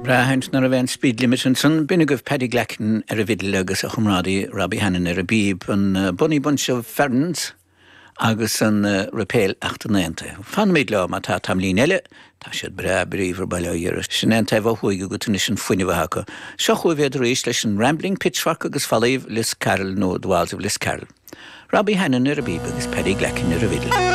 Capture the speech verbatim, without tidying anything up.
Braithint nar a bheith an speed limit ansan b'in agaibh Paddy Glackin ar an bhfidil agus a chomrádaí Robbie Hannon ar an bpíb an uh, Bonnie Bunch of Ferns agus an uh, Rapéil Achtananta. Fanfaimid leo má tá tamaillín eile, tá siad breá bríomhar bail ó Dhia orthu. Sin an taobh ó thuaidh go tunis an fuinneamh acu. Seo chugaibh iad arís leis an Rambling Pitchfork agus Fallaí Liscarroll nó The Walls of Liscarroll. Robbie Hannon ar an bpíb agus Paddy Glackin ar an bhfidil.